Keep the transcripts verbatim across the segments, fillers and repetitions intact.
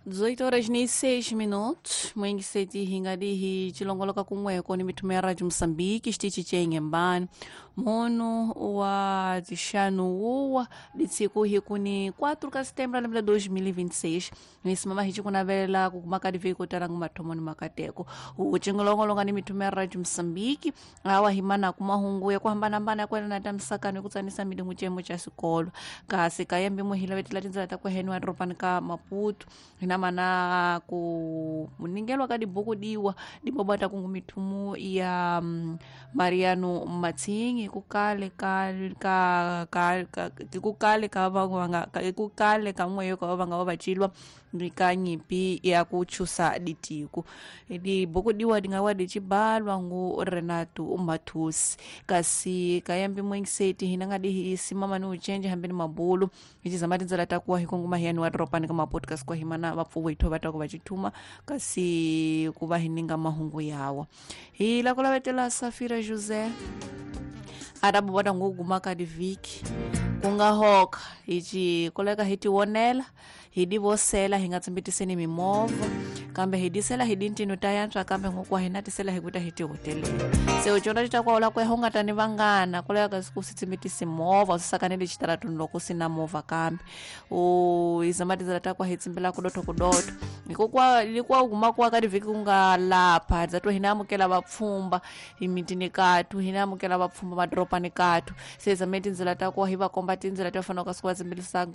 dezoito horas ni seis minutos mwengiseti hingadihi chilongoloka kumweko ni mithumo ya Rádio Moçambique xitichi che Inhambane munu wa tixanu wuwa ditsiku hiku ni quatro ka setembro lembe la dois mil e vinte e seis nisimama hici kunavela kukumakadi talangu mathomo ni makateko ucingolongolonga ni mithumo ya Rádio Moçambique awa himana kumahungu ya kuhambanahambana ya kuelana ta misakano kutsanisa milingu cemo cha xikolo kasi kayembe muhila vetela tindzela ta kuheniwa edorobani ka Maputo hina mana ku muningelwa ka dibuku diwa dibobata kungu mithumu ya mm, Mariano Matsingi kukale ka ka ka ka kukale ka vanga kukale ka mweyo ka vanga vachilwa ndika nyipi ya kuchusa ditiku dibuku diwa dingawa dichibalwa ngu Renato Mathusi kasi kayambi mwengiseti hina nga dihi simama ni uchenje hambeni mabulu ichizama tindzela ta kuwa hikongoma hiyani wa dropani ka mapodcast kwa himana vapfuwo itho va ta ku va chithuma kasi ku va hininga mahungu yawa hi la ku lavetela Safira José arabu vona nguguma ka divhiki ku nga hoka hi ci koleka hi tivonela hi divosela hi nga tsimbitiseni mimovha kambe hi disela hi dintino ta yantswa kambe ngokuwa hi na tisela hi kuta hi tihoteleni se u cona cita kwaula kweho u nga ta ni vangana koleka kasi ku si tsimbitisi movha u sisakanele xitaratuni loko si na movha kambe u hi zama tindzela ta kwa hi tsimbela kudoto kudoto hikokuwa likuwa u guma kuwa ka divhiki ku nga lapha dza to hina amukela vapfhumba hi mitini katu hina amukela vapfhumba madorobani katu se hi zame tindzela ta kuwa hi va komba tindzela ti va fanelaka siku va tsimbilisa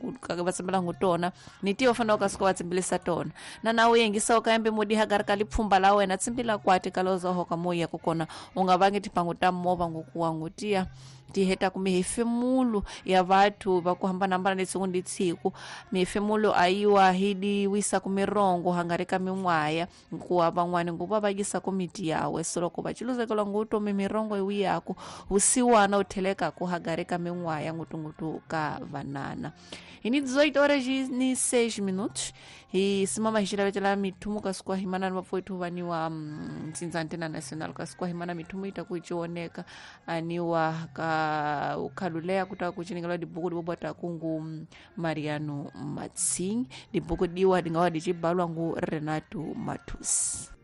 va tsimbilangu tona ni ti va fanelaka siku va tsimbilisa tona na na u yengisa ka yambe mudi hagari ka lipfhumba la wena tsimbila kwati ka loza hoka moya kukona u nga vangi timhangu ta movha ngokuwa ngutiya ti heta ku mihefemulo ya vathu va ku hambanahambana lesiku ndi tsiku mihefemulo ayiwa hi diwisa ku mirongo hangari ka min'waya nkuwa van'wani nguva va yisa ku miti yawe so loko va ciluzekelwa ngutomi mirongo iwiyaku vusiwana u thelekaku hagari ka min'waya ngutungutu ka vanana hi ni dezoito horas ni seis minutos hi simama hi xilavetela mithumu kasi kwa himana ni vapfuwethu vaniwa ntsindzantena national kasi kwa himana mithumu yi ta ku cioneka aniwa ka ukhalulea kuta kucinikela dibuku dibobwata kungu Mariano Matsingi dibuku diwa dingawa dicibalwa ngu Renato Mathusi.